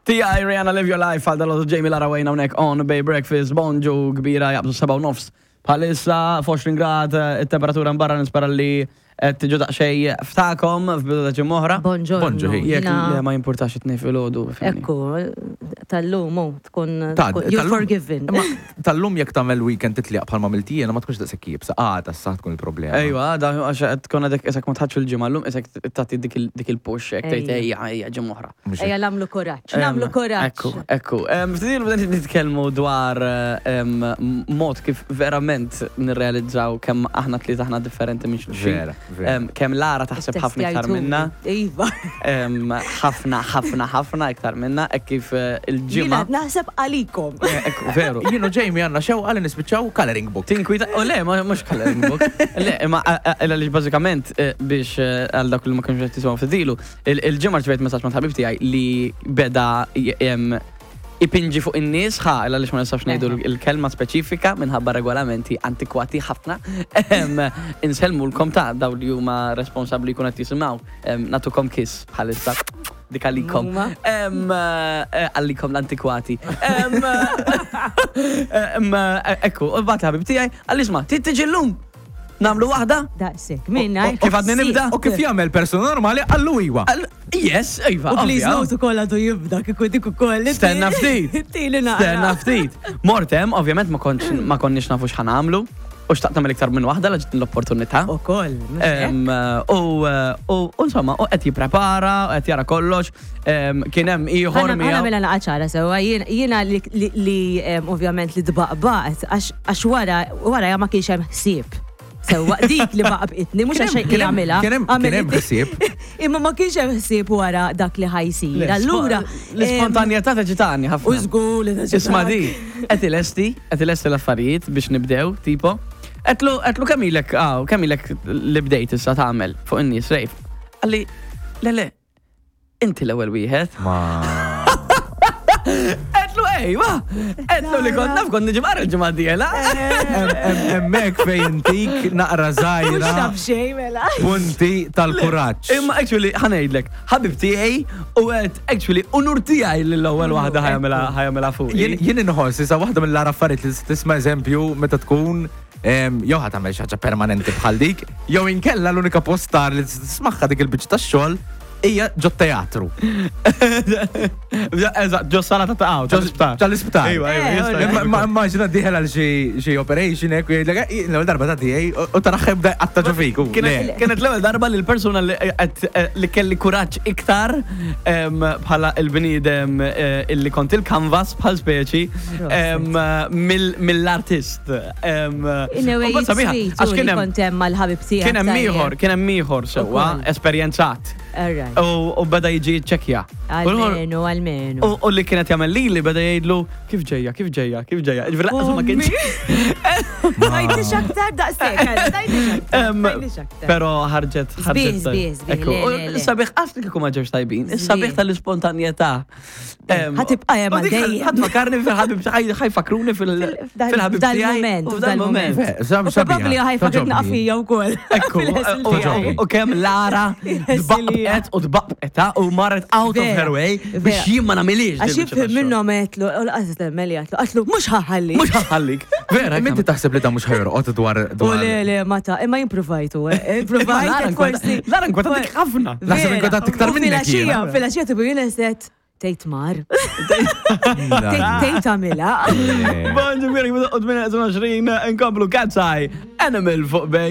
T.I. Rihanna Live Your Life għal dal Jamie Lara Wayne hawnhekk on Bay Breakfast, bonġu kbira jaqbżu 7 u nofs. Bħalissa f'20 grad it-temperatura mbarra nispera li qed tiġu daqsxejn ftakom f'bidu ta' ġimgħa oħra. Bonġorno. Bonġu, hi. Jekk Jiena- le ma jimpurtax it-tnejn filgħodu. fimni. Ekku, tal-lum hu tkun Ta' tkun- you're tal-lum- forgiven. Imma tal-lum jekk tagħmel weekend titliq bħalma għamilt jiena ma tkunx daqshekk iebsa. Għada issa tkun il-problema. Ejwa, għada għax qed tkun għadek isek ma tħadx il-ġimgħa llum isek tagħti dik il- dik il-push hekk tgħid Ejja. ejja ejja ġimgħa oħra. Mhux Ejja nagħmlu kuraġġ, nagħmlu kuraġġ. Ekku, ekku. Ftit ilu bdejna nitkellmu dwar mod kif verament nirrealizzaw kemm aħna tlieta aħna differenti minn xulxin. Vera, vera. Kemm Lara taħseb ħafna iktar minna. Iva. Ħafna, ħafna, ħafna iktar minna, hekk kif eh, il-ġimgħa. Jiena naħseb għalikom. Ekku, veru. Jien u Jamie għandna xewqa li nispiċċaw coloring book. Tinkwita, u le, ma mhux coloring book. Le, imma għaliex bażikament eh, biex eh, għal dak li ma kienx qed jisimgħu ftit ilu, Il-ġimgħa rċevejt messaġġ minn ħabib tiegħi li beda ipinġi fuq in-nies ħa għaliex ma nistax ngħidu l-kelma speċifika minħabba regolamenti antikwati ħafna. Insellmulkom ta' daw li huma responsabbli jkun qed jisimgħu. Natukom kiss bħalissa. Dik għalikom. Eh, għalikom l-antikwati. Ekku, u bat ħabib tiegħi, għal isma' tiġi llum. Namlu waħda? Daqsek, minna. Kif għadni nibda? U kif jagħmel persuna normali għallu iwa. Yes, iva. U please note ukoll għadu jibda kieku dik ukoll. Stenna ftit. Tili naqra. Stenna ftit. Mortem, ovvjament ma kontx ma konniex nafu x'ħan għamlu. U xtaqt nagħmel iktar minn waħda la ġiet l-opportunità. Ukoll. U insomma, u qed jipprepara, u qed jara kollox. Kien hemm ieħor miegħu. Ħa nagħmilha naqa' ċara sewwa, jiena li ovvjament li tbaqbaqt għax wara wara ma kienx hemm ħsieb. Sewwa dik li baqbqitni mhux għax xejn jagħmilha. Kien hemm ħsieb. Imma ma kienx hemm ħsieb wara dak li ħajsir. Allura l-ispontanjetà teġitani ħafna. U żgur li teġitani. Isma' di, qed ilesti, qed ilesti l-affarijiet biex nibdew, tipo. Qedlu qedlu kemm ilek ah, kemm ilek li bdejt issa tagħmel fuq in-nies rejf. Qalli, le le, Inti l-ewwel wieħed. Ma. Għedlu ejwa! Għedlu li kont naf kont niġi barra l-ġimgħa d-dieħla. Hemmhekk fejn intik naqra żgħira. Mhux taf xejn mela. Punti tal-kuraġġ. Imma actually ħa ngħidlek, ħabib tiegħi u għedt actually unur tiegħi li l-ewwel waħda ħajamilha fuq. Jien inħoss issa waħda mill-agħar affarijiet li tisma' eżempju meta tkun jew ħa tagħmel xi ħaġa permanenti bħal dik, jew inkella l-unika post tar li tismagħha dik il-biċċa tax-xogħol Hija ġo teatru. Eżatt, ġo sala ta' taqaw, tal-isptar. Tal-isptar. Iva, iva, jista' eh, Ma immaġina diħel għal xi operation hekk u jgħidlek, eh, l-ewwel darba ta' tiegħi u taraħ jibda jqatta' ġo fik. Kienet l-ewwel darba li l-persuna eh, li kelli kuraġġ iktar bħala il-bniedem illi kont il-canvas bħal speċi mill-artist. In a way, għax kien hemm kont hemm mal-ħabib tiegħek. Kien hemm ieħor, kien hemm ieħor sewwa, esperjenzat. U beda jiġi ċekja. Almenu, almenu. U li kienet jagħmel lili beda jgħidlu kif ġejja, kif ġejja, kif ġejja. Ġifieri lanqas ma kienx. Tgħidlix aktar daqshekk, tgħidlix aktar. Però ħarġet ħarġet. Sbieħ, sbieħ. Sabiħ qas li kieku ma ġewx tajbin. Sabiħ tal-ispontanjetà. Ħatibqa' hemm għal dejjem. Ħadd fakarni fil-ħabib ħajfakruni fil-ħabib Dal-moment, dal-moment. Probabbli ħajfakret naqfija wkoll. Ekku, u kemm Lara tbaqbqet u tbaqbqet u marret out of her way biex jien ma nagħmilix. Għax jifhem minnhom għedtlu, u laqas temmen li għedtlu, għedtlu mhux ħaħallik. Mhux ħaħallik. Vera. Inti taħseb li ta' mhux ħajorqod dwar. U le, le, ma ta' imma jien provajtu, eh, provajt forsi. Lara nkwetat ħafna. Naħseb inkwetat iktar minnek. Filgħaxija, filgħaxija tibu jien set tgħid mar. Tgħid għamilha. Bonġu, miri, 28 nkomplu Cat's Eye, Animal fuq bej.